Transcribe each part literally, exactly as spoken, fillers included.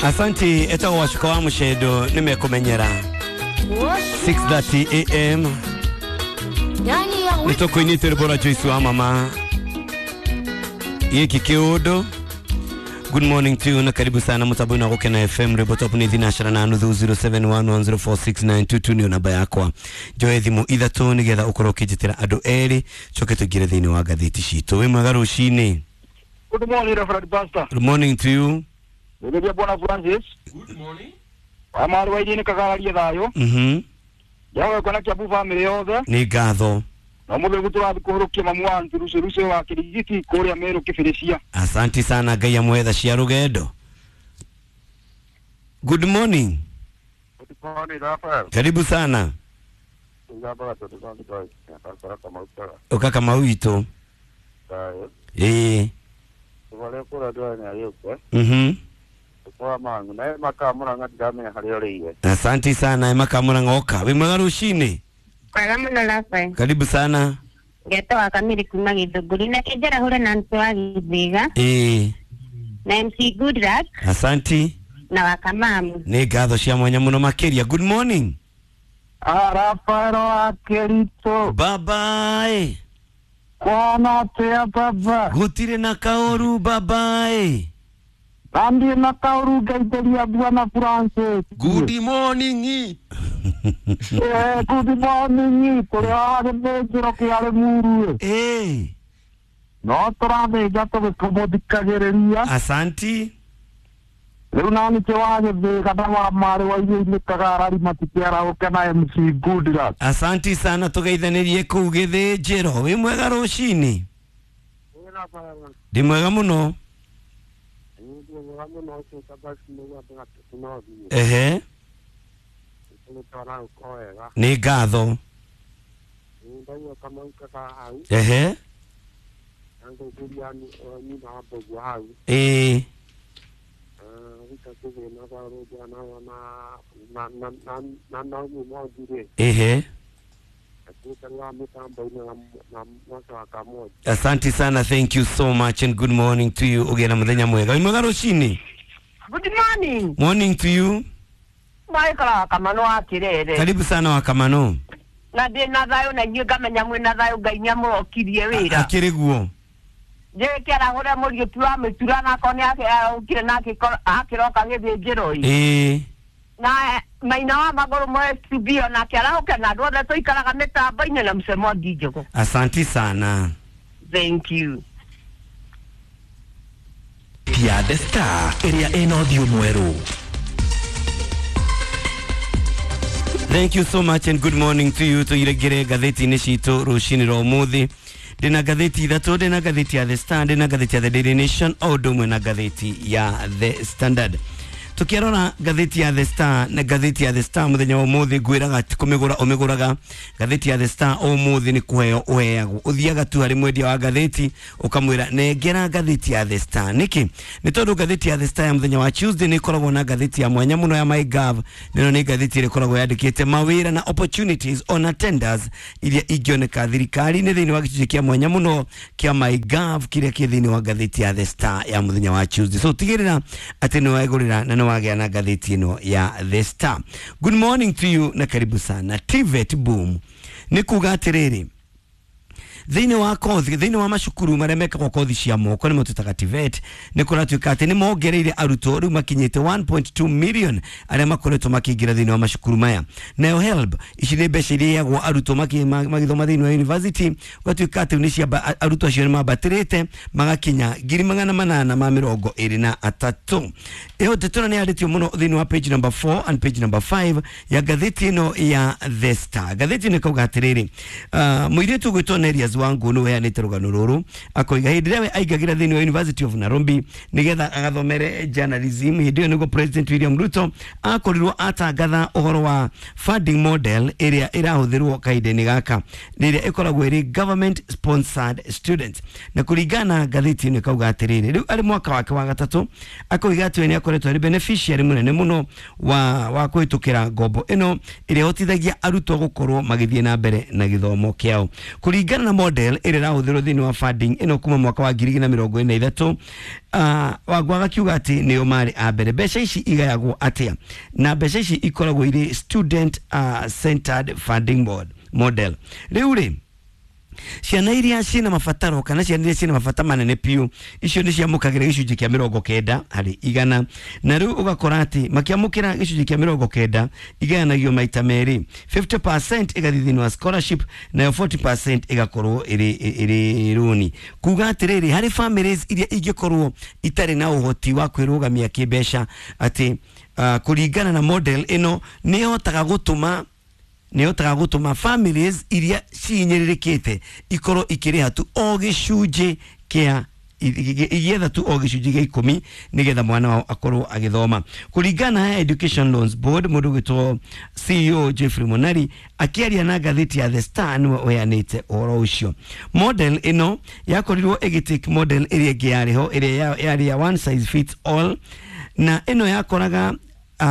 Asanti etagwo Wacuka wa Mucendo nĩ mekũmenyera six thirty A M nĩ tũkũinĩte rwĩmbo rwa Joyce wa mama gĩkĩ kĩũndũ. Good morning to you na karibu sana mutabuni wa Gukena F M rwĩmbo top nĩ thinacara na nuthu zero seven one one zero four six nine two two nĩyo namba yakwa. Njoe thimũ ithatũ nĩgetha ũkorwo ũkĩnjĩtĩra andũ erĩ coke tũingĩre thĩinĩ wa ngathĩti citũ. Wĩ mwega rũcinĩ. Good morning, Reverend Pastor. Good morning to you. Good Bwana Francis. Good morning. Wa marĩ wa iria nĩ kagararie thayũ. Mhm. Yawe kona Kiambu family yothe. Nĩ ngatho. Na mũthĩ gũtũrathiĩ kũhũrũkia mamu wa Rucu Rucu wa Kĩrigiti kũrĩa Meru Kĩbĩrĩcia. Asanti sana Ngai amwetha cia rũgendo. Good morning. Good morning, Rafael. Karibu sana. Ũka Kamau witũ. Ĩĩ. Mhm. Asanti sana Emma Kamura oka. Wĩ mwega rũcinĩ. Kwega mũno Rafael. Karibu sana. Ngetwo wa Kamiri kuma Gĩthũngũri na kĩnjara hure na ntũ wa Gĩthĩga. Ĩĩ. Na M C Goodluck. Asanti. Na wa Kamamu. Nĩ ngatho cia mwanya mũno makĩria. Good morning. Ah, Rafael wa Kĩritũ. Bye bye. Kwana atĩa baba? Gũtirĩ na kaũru bye bye. Nandie na kaũru ngaithĩria Bwana Francis. Good morning. Eh, good morning. Kũrĩa wa gĩthĩnjĩro kĩa Rĩmuru. Eh. No tũrathĩnja tũgĩkũmũthikagĩrĩria. Asanti. Rĩu nani kĩ wa Gĩthĩga na wa marĩ wa iria-inĩ Kagarari matikĩarahũke na M C Goodluck. Asanti sana tũgeithanĩrie kũu gĩthĩnjĩro. Wĩ mwega rũcinĩ? Ndĩ mwega mũno. Ehe. Nĩ ngatho. Ehe. Ĩĩ. Ehe. Asante sana, thank you so much and good morning to you. Ũgĩe na mũthenya mwega. Wĩ mwega rũcinĩ? Good morning. Morning to you. Maikara Kamano wa Kirere. Karibu sana wa Kamano. Na ndĩ na thayũ na inyuĩ ngamenya mwĩ na thayũ Ngai nĩamũrokirie wĩra. Akĩrĩ guo. Njĩkĩra mũriũki wa mĩtura nako nĩarokire na akĩroka gĩthĩnjĩro-ĩ. Ĩĩ. Na maina wa magũrũ moe studio nake arahũke na andũ othe tũikaraga mĩtambo-inĩ na mũcemo Ndinjũgũ. Asanti sana. Thank you. Ya The Star ĩrĩa ĩna ũthiũ mwerũ. Thank you so much and good morning to you. Tuiregere ngathĩti-inĩ citũ rũcinĩ rwa ũmũthĩ. Ndĩna ngathĩti ithatũ, ndĩna ngathĩti ya The Star, ndĩna ngathĩti ya The Daily Nation, o ũndũ ũmwe na ngathĩti ya The Standard. Tukiarora ngathĩti ya The Star na ngathĩti ya The Star mũthenya wa ũmũthĩ ngwĩraga ti kũmĩgũra ũmĩgũraga. Ngathĩti ya The Star ũmũthĩ nĩ kũheo ũheagwo. Ũthiaga tu harĩ mwendia wa ngathĩti ũkamwĩra nengera ngathĩti ya The Star. Nĩkĩ? Nĩ tondũ ngathĩti ya The Star ya mũthenya wa Tuesday nĩ ĩkoragwo na ngathĩti ya mwanya mũno ya MyGov. Nĩno nĩ ngathĩti ĩrĩa ĩkoragwo yandĩkĩte mawĩra na opportunities ona tenders iria ingĩoneka thirikari-inĩ thĩinĩ wa gĩcunjĩ kĩa mwanya mũno kĩa MyGov kĩrĩa kĩ thĩinĩ wa ngathĩti ya The Star ya mũthenya wa Tuesday. So tigĩrĩra atĩ nĩ wegũrĩra na wagĩa na ngathĩti ĩno ya The Star. Good morning to you na karibu sana. T V E T boom. Nĩ kuga atĩrĩrĩ, thĩinĩ wa kothi, thĩinĩ wa macukuru marĩa mekagwo kothi cia moko nĩmo twĩtaga T V E T, nĩ kũratuĩka atĩ nĩ mongereire arutwo rĩu makinyĩte one point two million arĩa makoretwo makĩingĩra thĩinĩ wa macukuru maya. Nayo HELB, ici nĩ mbeca iria iheagwo arutwo magĩthoma thĩinĩ wa university, gũgatuĩka atĩ nĩ ciamba, arutwo acio nĩ mambatĩrĩte magakinya ngiri magana manana ma mĩrongo ĩrĩ na atatũ. Ĩyo ndeto ĩno nĩ yandĩtio mũno thĩinĩ wa page number four and page number five ya ngathĩti ĩno ya The Star. Ngathĩti ĩno ĩkauga atĩrĩrĩ, uh, mũirĩtu ũgwĩtwo Nerias Wangu nĩ ũheanĩte rũgano rũrũ akoiga hĩndĩ ĩrĩa we aingagĩra thĩinĩ wa University of Nairobi nĩgetha agathomere journalism, hĩndĩ ĩyo nĩguo President William Ruto akorirwo atangatha ũhoro wa funding model ĩrĩa ĩrahũthĩrwo kahinda-inĩ gaka, ĩrĩa ĩkoragwo ĩrĩ government sponsored students. Na kũringana na ngathĩti ĩno ĩkauga atĩrĩrĩ, rĩu arĩ mwaka wake wa gatatũ akoiga atĩ we nĩ akoretwo arĩ beneficiary mũnene mũno wa wa kũhĩtũkĩra ngombo ĩno ĩrĩa ĩhotithagia arutwo gũkorwo magĩthiĩ na mbere na gĩthomo kĩao. Kũringana na model ĩrĩa ĩrahũthĩrwo thĩinĩ wa funding ĩno kuma mwaka wa ngiri igĩrĩ na mĩrongo ĩna ithatũ. uh, Wangũ agakiuga atĩ nĩo marĩ a mbere. Mbeca ici igayagwo atĩa? Na mbeca ici ikoragwo irĩ student uh, centered funding board model. Rĩu rĩ, ciana iria ciĩna mabataro kana ciana iria ciĩna mabata manene piũ, icio nĩ ciamũkagĩra gĩcunjĩ kĩa mĩrongo kenda harĩ igana. Na rĩu ũgakora atĩ makĩamũkĩra gĩcunjĩ kĩa mĩrongo kenda igayanagio maita merĩ, fifty percent ĩgathiĩ thĩinĩ wa scholarship nayo forty percent ĩgakorwo ĩrĩ ĩrĩ rũni. Kuga atĩrĩrĩ, harĩ families iria ingĩkorwo itarĩ na ũhoti wa kwĩrũgamia kĩmbeca, atĩ uh, kũringana na model ĩno nĩ ĩhotaga gũtũma nĩ gũtũma families iria cihinyĩrĩrĩkĩte ikorwo ikĩrĩha tu o gĩcunjĩ kĩa igĩetha tu o gĩcunjĩ gĩa ikũmi nĩgetha mwana wao akorwo agĩthoma. Kũringana na Education Loans Board, mũndũ ũgwĩtwo C E O Jeffrey Monari akĩaria na ngathĩti ya The Star nĩwe ũheanĩte ũhoro ũcio. Model ĩno yakorirwo ĩgĩtake model ĩrĩa ĩngĩ yarĩ ho, ĩrĩa yarĩ ya one size fits all, na ĩno yakoraga Uh,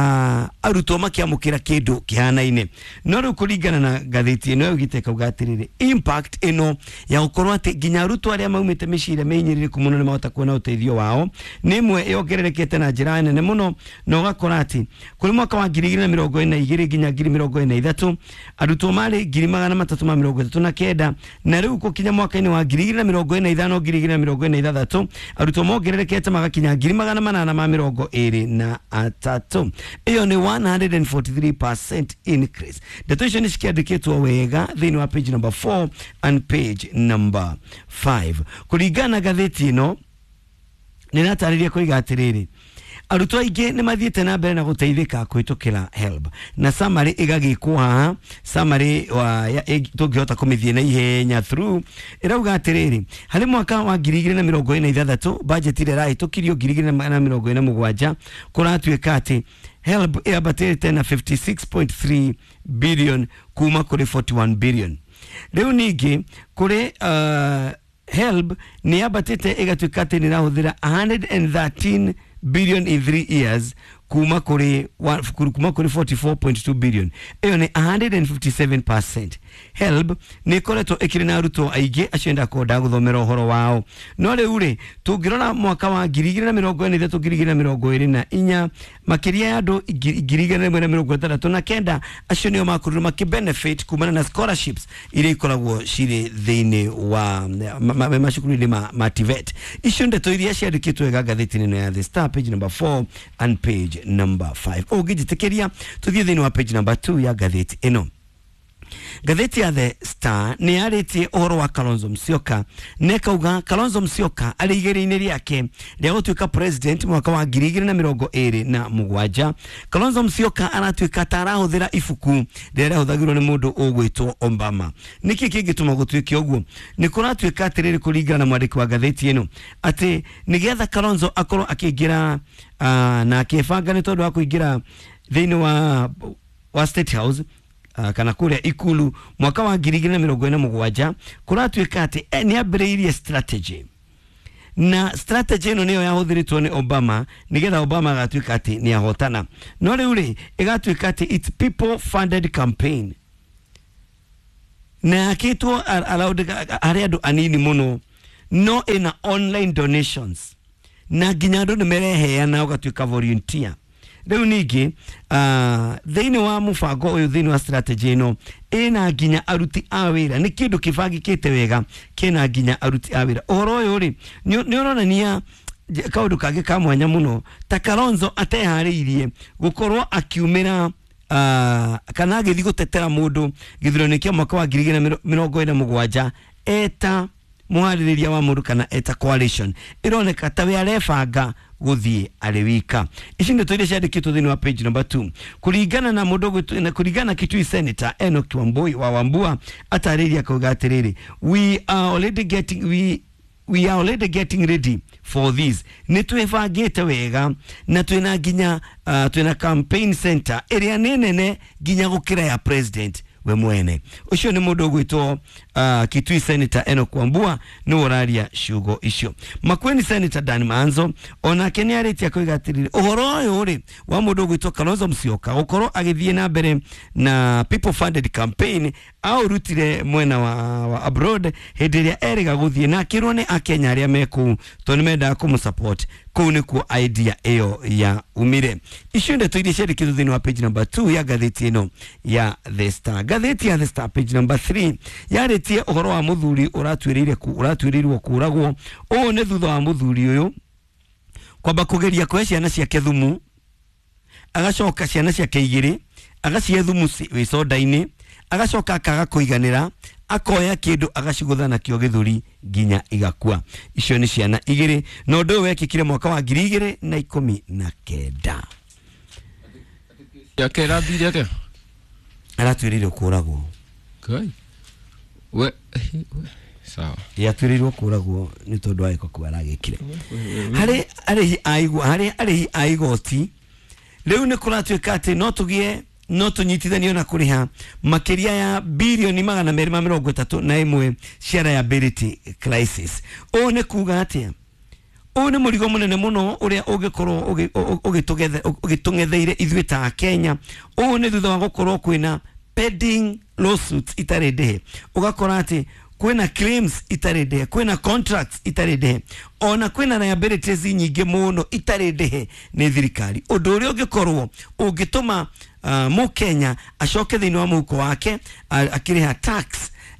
arutwo makiamukira kindu kihanaine. No riu kuringana na ngathĩti ĩno yaugĩte kauga atĩrĩrĩ, impact ĩno ya gũkorwo atĩ nginya arutwo arĩa maumĩte mĩciĩ ĩrĩa mĩhinyĩrĩrĩku mũno nĩ mahota kuona ũteithio wao nĩ ĩmwe yongererekete na njĩra nene mũno, na ũgakora atĩ kũrĩ mwaka wa ngiri igĩrĩ na mĩrongo ĩna na igĩrĩ nginya ngiri mĩrongo ĩna na ithatũ arutwo marĩ ngiri magana matatũ ma mĩrongo ĩtatũ na kenda, na rĩu gũkinya mwaka-inĩ wa ngiri igĩrĩ na mĩrongo ĩna na ithano ngiri igĩrĩ na mĩrongo ĩna na ithathatũ arutwo mongererekete magakinya ngiri magana manana ma mĩrongo ĩrĩ na atatũ. Iyo ni one hundred forty-three percent increase. Ndeto icio nĩ cikiandĩkĩtwo wega thĩinĩ wa page number four and page number five. Kũringana na ngathĩti ĩno nĩ ĩratarĩria kũiga atĩrĩrĩ, arutwo aingĩ nĩ mathiĩte na mbere na gũteithĩka kũhĩtũkĩra HELB, na summary ĩgagĩkwo haha, summary tũngĩhota kũmĩthiĩ na ihenya through ĩrauga atĩrĩrĩ, harĩ mwaka wa ngiri igĩrĩ na mĩrongo ĩna na ithathatũ budget ĩrĩa ĩrahĩtũkirio ngiri igĩrĩ na mĩrongo ĩna na mũgwanja kũratuĩka atĩ HELB ĩambatĩte na fifty-six point three billion kuma kũrĩ forty-one billion. Rĩu ningĩ kũrĩ uh, HELB nĩ yambatĩte ĩgatuĩka atĩ nĩ ĩrahũthĩra a hundred and thirteen billion in three years kuma kũrĩ kuma kũrĩ forty-four point two billion. Ĩyo nĩ a hundred and fifty-seven percent. HELB nĩ ĩkoretwo ĩkĩrĩ na arutwo aingĩ acio ndakwenda gũthomera ũhoro wao. No rĩu rĩ, tũngĩrora mwaka wa ngiri igĩrĩ na mĩrongo ĩna na ithatũ ngiri igĩrĩ na mĩrongo ĩrĩ na inya makĩria ya andũ ngiri igana rĩmwe na mĩrongo ĩtandatũ na kenda acio nĩo makorirwo makĩbenefit kumana na scholarships iria ikoragwo cirĩ thĩinĩ wa macukuru-inĩ ma, ma T V E T. Icio ndeto iria ciandĩkĩtwo wega ngathĩti-inĩ ĩno ya The Star, page number four and page number five. Ũngĩnjĩtĩkĩria tũthiĩ thĩinĩ wa page number two ya ngathĩti ĩno. Ngathĩti ya The Star nĩ yarĩtie ũhoro wa Kalonzo Musyoka, na ĩkauga Kalonzo Musyoka arĩ igĩrĩ-inĩ rĩake rĩa gũtuĩka president mwaka wa ngiri igĩrĩ na mĩrongo ĩrĩ na mũgwanja. Kalonzo Musyoka aratuĩka ta arahũthĩra ibuku rĩrĩa rĩahũthagĩrwo nĩ mũndũ ũgwĩtwo Obama. Nĩkĩ kĩngĩtũma gũtuĩke ũguo? Nĩ kũratuĩka atĩrĩrĩ, kũringana na mwandĩki wa ngathĩti ĩno, atĩ nĩgetha Kalonzo akorwo akĩingĩra uh, na akĩbanga nĩ tondũ wa kũingĩra thĩinĩ wa, wa State House Uh, kana kũrĩa ikulu mwaka wa ngiri igĩrĩ na mĩrongo ĩna na mũgwanja, kũratuĩka atĩ eh, nĩ ambĩrĩirie strategy, na strategy ĩno nĩyo yahũthĩrĩtwo nĩ Obama nĩgetha Obama agatuĩka atĩ nĩ ahotana. No rĩu rĩ, ĩgatuĩka atĩ it's people funded campaign, na yakĩtwo around harĩ andũ anini mũno, no ĩna online donations na nginya andũ nĩ mereheana ũgatuĩka volunteer. Rĩu ningĩ uh, thĩinĩ wa mũbango ũyũ, thĩinĩ wa strategy ĩno, ĩna nginya aruti a wĩra. Nĩ kĩndũ kĩbangĩkĩte wega, kĩna nginya aruti a wĩra. Ũhoro ũyũ rĩ, nĩ ũronania kaũndũ kangĩ ka mwanya mũno, ta Kalonzo ateharĩirie gũkorwo akiumĩra uh, kana agĩthiĩ gũtetera mũndũ gĩthurano kĩa mwaka wa ngiri igĩrĩ na mĩrongo ĩna na mũgwanja eta mũharĩrĩria wa mũndũ kana eta coalition. Ĩroneka ta we arebanga gũthiĩ arĩ wika. Ici ndeto iria ciandĩkĩtwo thĩinĩ wa page number two. Kũringana na mũndũ na kũringana na Kitui Senator Enoch Wambui wa Wambua atarĩria akauga atĩrĩrĩ, we are already getting we we are already getting ready for this. Nĩ twĩbangĩte wega na twĩna nginya uh, twĩna campaign center ĩrĩa nĩ nene nginya gũkĩra ya president we mwene. Ucio nĩ mũndũ ũgwĩtwo uh, Kitui Senator Enoch Wambua nĩ ũraria ciugo icio. Makueni Senator Dan Manzo onake nĩ arĩtie akoiga atĩrĩrĩ, ũhoro ũyũ rĩ wa mũndũ ũgwĩtwo Kalonzo Musyoka gũkorwo agĩthiĩ na mbere na people funded campaign aũrutire mwena wa, wa abroad hĩndĩ ĩrĩa erĩga gũthiĩ na akĩrwo nĩ akenya arĩa me kũu tondũ nĩ mendaga kũmũsupport. Kũu nĩkuo idea ĩyo ya umire. Icio ndeto iria ciandĩkĩtwo thĩinĩ wa page number two ya ngathĩti ĩno ya The Star. Ngathĩti ya The Star page number three yarĩtie ũhoro wa mũthuri ũratuĩrĩire ũratuĩrĩirwo kũragwo. Ũũ nĩ thutha wa mũthuri ũyũ kwamba kũgeria kũhe ciana ciake thumu, agacoka ciana ciake igĩrĩ agacihe thumu wĩ soda-inĩ, agacoka akaga kũiganĩra akoya kĩndũ agacigũtha nakĩo gĩthũri nginya igakua. Icio nĩ ciana igĩrĩ na ũndũ ũyũ wekĩkire mwaka wa ngiri igĩrĩ na ikũmi na kenda. Yake ĩrathire atĩa? Aratuĩrĩirwo kũragwo. Ngai. We sawa. Yatuĩrĩirwo kũragwo nĩ tondũ wa gĩko kĩu aragĩkire. Harĩ arĩhi a igwa harĩ arĩhi a igoti rĩu nĩ kũratuĩka atĩ no tũgĩe no tũnyitithanio na kũrĩha makĩria ya bilioni magana merĩ ma mĩrongo ĩtatũ na ĩmwe cia liability crisis. Ũũ nĩ kuga atĩa? Ũũ nĩ mũrigo mũnene mũno ũrĩa ũngĩkorwo ũgĩtũng'etheire ithuĩ ta Kenya. Ũũ nĩ thutha wa gũkorwo kwĩna pending lawsuits itarĩ ndĩhe, ũgakora atĩ kwĩna claims itarĩ ndĩhe, kwĩna contracts itarĩ ndĩhe, ona kwĩna liabilities nyingĩ mũno itarĩ ndĩhe nĩ thirikari. Ũndũ ũrĩa ũngĩkorwo ũngĩtũma uh, mũkenya acoke thĩinĩ wa mũhuko wake akĩrĩha tax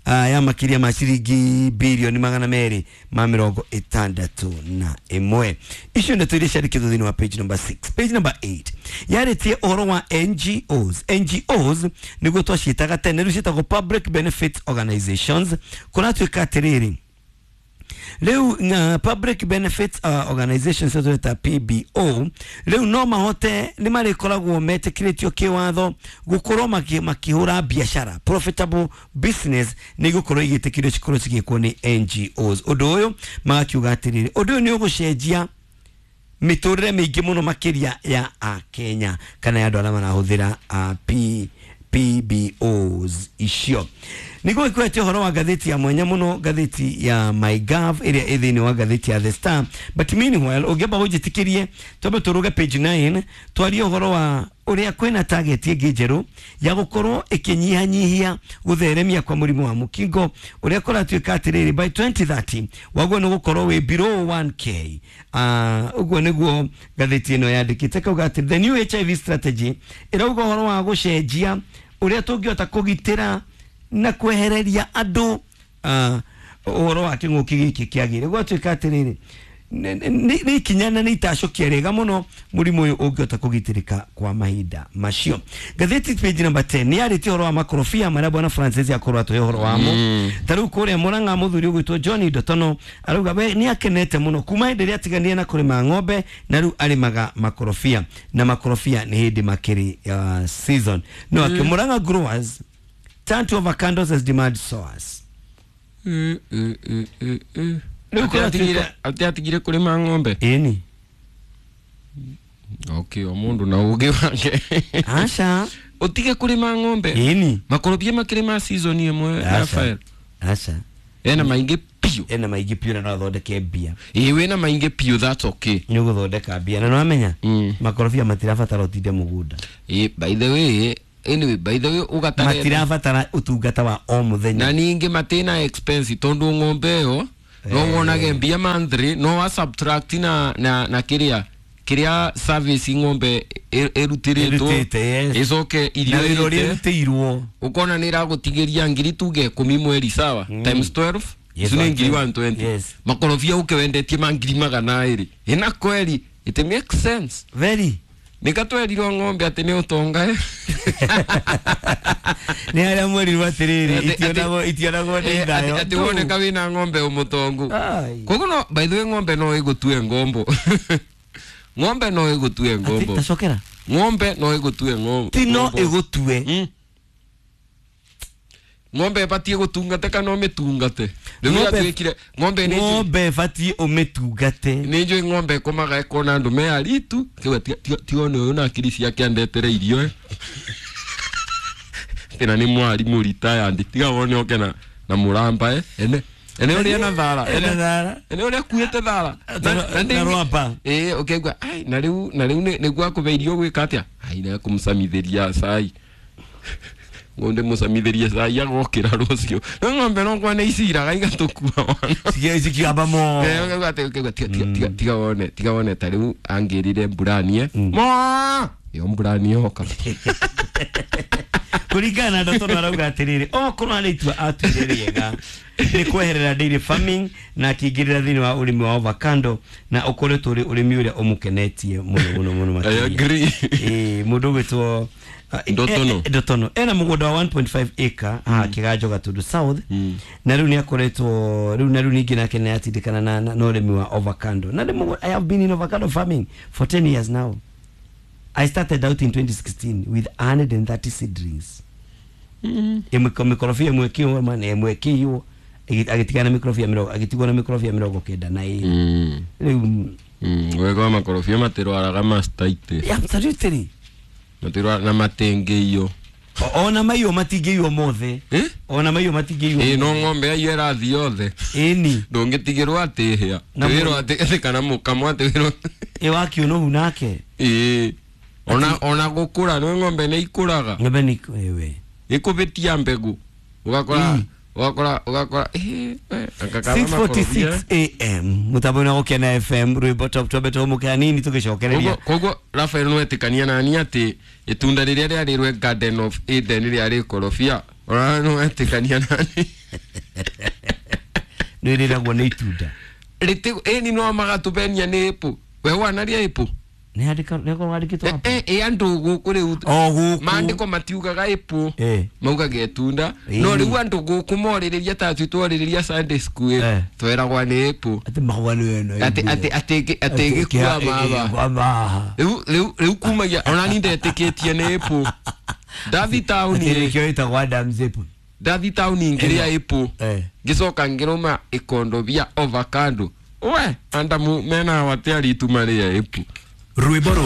uh, ya makĩria ma ciringi bilioni magana merĩ ma mĩrongo ĩtandatũ na ĩmwe. Icio ndeto iria ciandĩkĩtwo thĩinĩ wa page number six. Page number eight yarĩtie ũhoro wa N G Os. N G Os nĩguo twaciĩtaga tene, rĩu ciĩtagwo Public Benefit Organizations. Kũratuĩka atĩrĩrĩ, rĩu uh, Public Benefit uh, Organizations ta P B O rĩu no mahote nĩ marĩkoragwo metĩkĩrĩtio kĩwatho gũkorwo makĩhũra biacara, profitable business nĩ igũkorwo igĩtĩkĩrio cikorwo cigĩkwo nĩ N G Os. Ũndũ ũyũ magakiuga atĩrĩrĩ, ũndũ ũyũ nĩ ũgũcenjia mĩtũrĩre mĩingĩ mũno makĩria ya Akenya kana ya andũ arĩa marahũthĩra uh, P P B Os icio. Nĩguo ikuete ũhoro wa ngathĩti ya mwanya mũno, ngathĩti ya MyGov ĩrĩa ĩ thĩinĩ wa ngathĩti ya The Star. But meanwhile ũngĩamba ũnjĩtĩkĩrie twambe tũrũge page nine twarie ũhoro wa ũrĩa kwĩna target ĩngĩ njerũ ya gũkorwo ĩkĩnyihanyihia gũtheremia kwa mũrimũ wa mũkingo ũrĩa kũratuĩka atĩrĩrĩ by twenty thirty waguo nĩ gũkorwo wĩ below one K. Ũguo nĩguo ngathĩti ĩno yandĩkĩte kauga atĩ the new H I V strategy ĩrauga ũhoro wa gũcenjia ũrĩa tũngĩhota kũgitĩra na kwehereria andũ ũhoro wa kĩng'ũki gĩkĩ kĩagĩrĩire. Gwatuĩka atĩrĩrĩ nĩ ikinya na nĩ itacũkia rĩega mũno mũrimũ ũyũ ũngĩhota kũgitĩrĩka kwa mahinda macio. Ngathĩti page number ten nĩ yarĩtie ũhoro wa makorobia marĩa bwana Francis akorwo atũhe ũhoro wamo. Ta rĩu kũrĩa Murang'a mũthuri ũgwĩtwo John Ndotono arauga we nĩ akenete mũno kuma hĩndĩ ĩrĩa atiganire na kũrĩma ng'ombe na rĩu arĩmaga makorobia na makorobia nĩ hĩndĩ makĩrĩ uh, season. No akĩ Murang'a growers turn to avocados as demand soars. Mm, mm, mm, mm, mm. Ati atigire kũrĩma ng'ombe? Ĩni. Okay, o mũndũ na ũgĩ wake. Aca. Ũtige kũrĩma ng'ombe? Ĩni. Makorobia makĩrĩma season ĩmwe Rafael. Aca. Ena maingĩ piũ. Ena maingĩ piũ na no athondeke mbia. Ĩĩ wĩna maingĩ piũ, that's okay. Nĩ ũgũthondeka mbia na nĩwamenya makorobia matirabatara ũtinde mũgũnda. Ĩĩ, by the way, anyway, by the way ugatare matirabatara ũtungata wa o mũthenya. Na ningĩ matina expense tondũ ng'ombe ĩyo no wonage mbia monthly no wa subtract na na na kiria kiria service ng'ombe erutiritwo icoke irio irutirwo ukona ni iragutigiria ngiri tuge ikumi mweri sawa times twelve icio nĩ ngiri one twenty. Makorobia uke wendetie ma ngiri magana ĩrĩ ina kweli it makes sense very. Nikatwerirwo ng'ombe atĩ nĩ ũtonga eh. Nĩ harĩa mwerirwo atĩrĩrĩ itionagwo itionagwo nĩ thayo atĩ woneka wĩna ng'ombe ũmũtongu. Koguo no by the way ng'ombe no ĩgũtue ngombo. Ng'ombe no ĩgũtue ngombo. Tacokera ng'ombe no ĩgũtue ngombo. Ti no ĩgũtue. Ng'ombe ĩbatiĩ gũtungate kana ũmĩtungate? Rĩu yatuĩkire ng'ombe nĩ ng'ombe ĩbatiĩ ũmĩtungate. Nĩ njũĩ ng'ombe ĩkomaga ĩkona andũ me aritu kiuga tiga one ũyũ na akili ciake andetere irio. university na nĩ mwarimu retired tiga wone oke na na mũramba eh ene ene ũrĩa na thara Ena thara. ene ũrĩa kuĩte thara Na- na rwamba. ĩĩ ũkaigua ai na rĩu na rĩu nĩ- nĩguo akũbe irio gwĩka atĩa ai na kũmũcamithĩria cai ng'ombe mũcamithĩrie cai agokĩra rũciũ no ng'ombe no kwa nĩ iciraga igatũkua wana Cikia- cikiamba mo Eh, ũkaigua atĩ ũkaigua tiga tiga tiga tiga wone tiga wone ta rĩu angĩrire mburanie mo ĩyo mburani yoka kũringana na Ndotono arauga atĩrĩrĩ okorwo harĩ itua atuire rĩega nĩ kweherera dairy farming na akĩingĩrĩra thĩinĩ wa ũrĩmi wa avocado na ũkoretwo ũrĩ ũrĩmi ũrĩa ũmũkenetie mũno mũno mũno I makĩria. agree. Ĩĩ, mũndũ ũgwĩtwo ah, Ndotono. eh, eh, Ndotono ena mũgũnda wa one point five acre haha Kĩganjo Gatundu South na rĩu nĩ akoretwo rĩu na rĩu ningĩ nake nĩ atindĩkana na na na ũrĩmi wa avocado na nĩ mũgũ- I have been in avocado farming for ten years now. I started out in twenty sixteen with a hundred and thirty seedlings. Ĩmwe mĩkorobia ĩmwe ĩkĩũma na ĩmwe ĩkĩiywo agĩtigana na mĩkorobia mĩrongo agĩtigwo na mĩkorobia mĩrongo kenda na ĩrĩ. Mm. Rĩu Mm, wega wa makorobia matirwaraga mastitis. Absolutely. Matirwara na matingĩiywo. O- ona maiywo matingĩiywo mothe. Eh? Ona maiywo matingĩiywo. Ĩĩ no ng'ombe aiyo ĩrathiĩ yothe. Ĩni. Ndũngĩtigĩrwo atĩ ĩhĩa. Na Wĩrwo mũndũ- atĩ atĩ kana mũkamo atĩ wĩrwo. Ĩ wakiũnũhu nake. Ĩĩ. Ona ona gũkũra nĩ ng'ombe nĩ ikũraga. Ng'ombe nĩ ĩwe. Ĩkũbĩtia mbegũ. Ũgakora ũgakora ũgakora ĩĩ we, anga six forty six makorobia. A M mũtambo-inĩ wa Gũkena F M rwĩmbo top twambe tũhũmũke hanini tũgĩcokereria. Koguo koguo Rafael no etĩkania nani atĩ itunda rĩrĩa rĩarĩrwe Garden of Eden rĩarĩ ikorobia. Ona no etĩkania nani. Nĩ rĩragwo nĩ itunda. Rĩtĩ ĩni no magatũbenia nĩ apple. We wanaria apple? Nĩ handĩka nĩ korwo handĩkĩtwo Eh, hapo. eh, ĩ andũ gũkũ rĩu O gũkũ. maandĩko matiugaga apple. Eh. Maugaga itunda. Ĩĩ. No rĩu andũ gũkũ morĩrĩria ta ithuĩ twarĩrĩria Sunday school Eh. tweragwa nĩ apple. Atĩ mahũa nĩ ĩno. Atĩ atĩ atĩ atĩ ĩgĩkua maba. Maba. Rĩu rĩu rĩu kumagia ona ni ndetĩkĩtie nĩ apple. Ndathi taũni Atĩ nĩkĩo ĩtagwo Adam's apple. ndathi taũni ngĩrĩa apple. Eh. Ngĩcoka ngĩrũma ikondobia avocado. We andamu mena wate aritu marĩa apple. Rwĩmbo